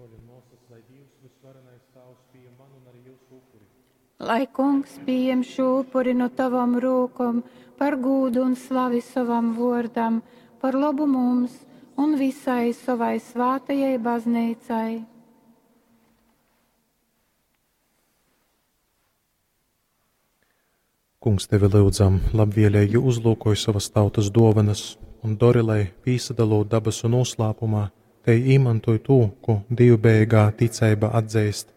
Bruoļi un muosys, lai Dīvs vysvarenais Tāvs pījam manu un arī jūsu upuri. Lai Kungs pieņem šo upuri no tavam rūkom par gūdu un slavi sovam vōrdam, par labu mums un visai savai svātajai baznīcai. Kungs, tevi lyudzam, labvēlīgi uzlūkoj savas tautas dōvanas un dori, lai pīsadalot dabasu noslēpumā, te īmantoj tū, ko dievbijīgā ticeiba atzīst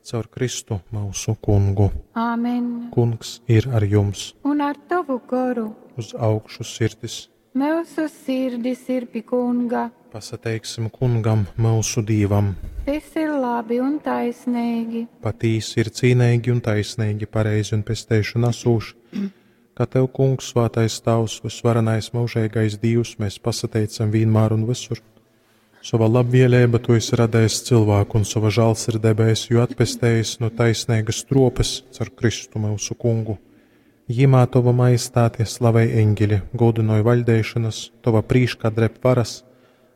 caur Kristu mūsu kungu. Āmen. Kungs ir ar jums. Un ar tavu goru. Uz augšu sirdis. Mūsu sirdis ir pie kunga. Pasateiksim kungam, mūsu dīvam. Tas ir labi un taisnīgi. Patīsi ir cīnīgi un taisnīgi, pareizi un pesteišana asūši. Kā tev, kungs, svātais tavs, visvarenais mūžīgais Dievs, mēs pasateicam vienmēr un visur. Sava labvēlība tu esi radējis cilvēku un sava žēlsirdība esi jū atpestējis no taisnīgas tropes caur Kristu mūsu kungu. Jimā tova majestāte slavej eņģeļi, godinoj vaļdēšanas, tova prīškā dreb varas,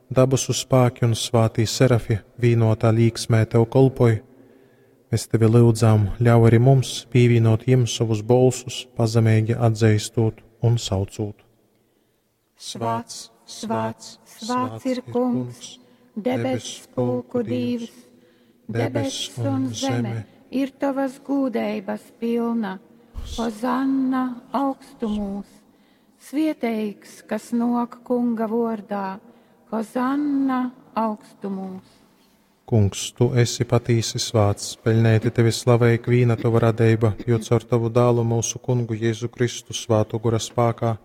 dabasu spāki un svātī serafi vīnotā līksmē tev kolpoj. Mēs tevi lūdzām, ļauj arī mums pievienot jiem savus bolsus, pazemīgi atzīstot un saucot. Svēts, svēts, svēts ir kungs, debes pulku Dievs, debes un zeme ir tavas gūdeibas pilna. Hozanna augstumūs, svieteigs, kas nok kunga vordā, Hozanna augstumūs. Kungs, tu esi patīsi svāts, peļnēti tevi slavē ikvīna tava radība, jo caur tavu dālu mūsu kungu Jēzu Kristu svātu gora spākā,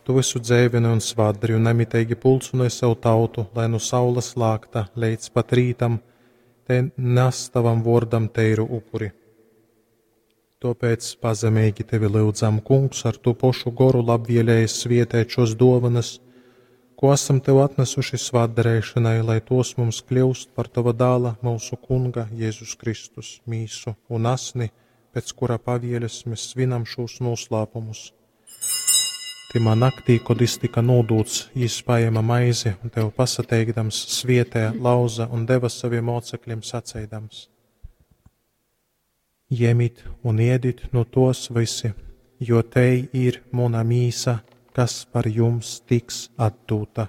tu visu dzēvini un svātdari un nemiteigi pulcināji savu tautu, lai nu saules lākta līdz pat rītam, te nes tavam vōrdam teiru upuri. Tāpēc pazemīgi tevi lūdzam, kungs, ar tu pošu goru labvēlēji svietēt šos dovanas, ko esam tev atnesuši svētdarīšanai, lai tos mums kļūst par tava dāla, mūsu kunga Jēzus Kristus, mīsu un asni, pēc kura pavieļas mēs svinam šos noslēpumus. Timā naktī, kad jis tika nodūts, jis paēma maizi un tev pasateikdams svietē, lauza un deva saviem mocekļiem saceidams: Ņemit un ēdit no tos visi, jo te ir mana mīsa, kas par jums tiks atdota.